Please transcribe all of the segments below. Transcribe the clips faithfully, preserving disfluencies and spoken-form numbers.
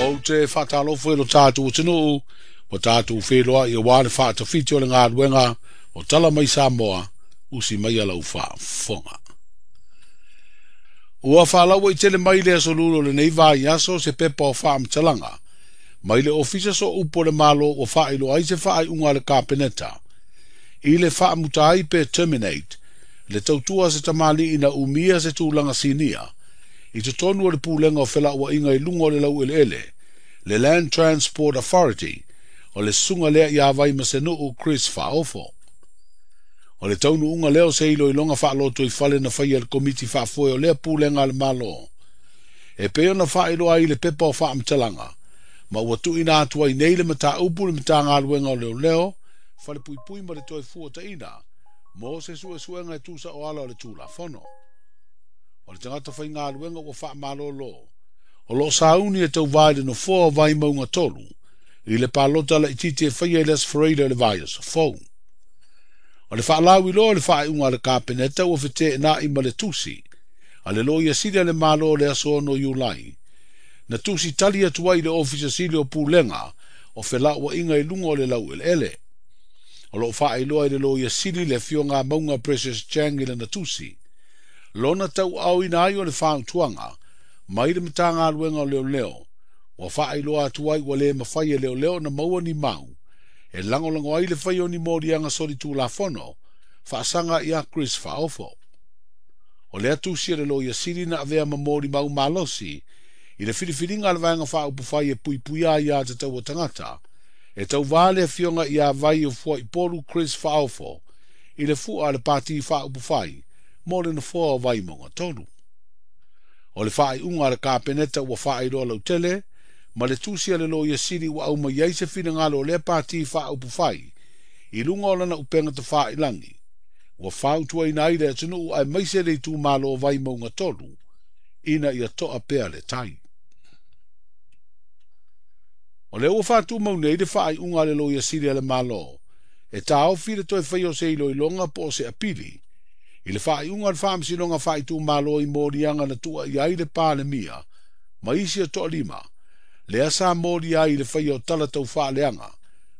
Ou te faatalofa i lo tatou atunuu ua tatou feiloai aua le faatafiti o le galuega o Tala Mai Samoa, usi mai lau faafofoga. Ua faalauaitele mai le aso Lua o lenei vaiaso se pepa o faamatalaga mai le Ofisa Sooupu o le Malo ua faailoa ai se faaiuga a le Kapeneta i le faamuta ai pe terminate le tautua se tamalii na umia se tulaga sinia i totonu o le pulega o felauaiga i luga o le laueleele, le Land Transport Authority, o le susuga lea ia Vaimasenuu Chris Faaofo. O le taunuuga lea o se iloiloga faaloto i fale na faia le Komiti Faafoe o lea pulega a le Malo e pei ona faailoa ai le pepa o faamatalaga, ma ua tuuina atu ai nei le mataupu le Matagaluega o Leoleo, Falepuipui ma le Toe Fuataina mo se suesuega e tusa o ala o le Tulafono. O le tagata faigaluega ua faamalolo o loo sauni e tauvā i le nofoa o Vaimauga tolu i le palota laitiiti e faia i le Aso Faraile o le vaiaso fou. O le faalauiloa o le faaiuga a le Kapeneta ua feteenai ma le tusi a le Loia Sili a le Malo o le aso ono Iulai, na tusi tali atu ai i le Ofisa Sili o Pulega o Felauaiga i luga o le laueleele. O loo faailoa i le Loia Sili le afioga Mauga Precious Chang i lana tusi lona tauaaoina ai o le fautuaga mai le Matagaluega o Leoleo ua faailoa atu ai ua le mafai e leoleo na maua ni mau e lagolago ai le fai o ni moliaga solitulafono faasaga ia Chris Faaofo. O lea tusi a le Loia Sili na avea ma molimau malosi i le filifiliga a le Vaega Faaupufai e Puipuia Aiā Tatau a Tagata e tauvā le afioga ia Vai o Fuaipolu Chris Faaofo i le fua a le Pati Faaupufai mo le nofoa o Vaimauga tolu. O le faaiuga a le Kapeneta ua faailoa lautele ma le tusi a le Loia Sili ua aumai ai se finagalo o lea Pati Faaupufai i luga o lana upega tafailagi ua fautuaina ai le atunuu aemaise le itumalo o Vaimauga tolu ina ia toa pea le tai. O lea ua faatumau nei le faaiuga a le Loia Sili a le Malo e taofi le toe faia o se iloiloga po o se apili i le faaiuga o le Faamasinoga Faaitumalo i moliaga na tuuaia ai le Palemia ma isi e toalima lea sa molia ai i le faia o tala taufaaleaga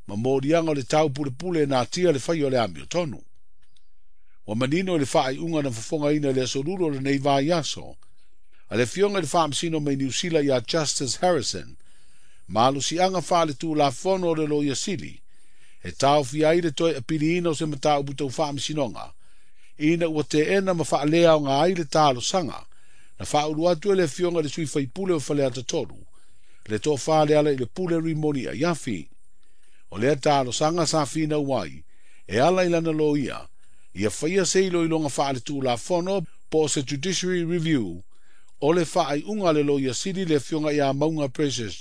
ma moliaga o le taupulepule e natia le faia o le amiotonu. Ua manino i le faaiuga na fofogaina i le aso Lua o lenei vaiaso a le afioga i le Faamasino mai Niu Sila ia Justice Harrison malosiaga faaletulafono o le Loia Sili e taofia ai le toe apiliina o se mataupu tau faamasinoga ina ua teena ma faaleaoga ai le talosaga na faaulu atu e le afioga i le sui faipule o Faleata tolu le tofa le ala i le Pule Rimoni Aiafi. O lea talosaga sa finau ai e ala i lana loia ia faia se iloiloga faaletulafono po o se judiciary review o le faaiuga a le Loia Sili le afioga ia Mauga Precious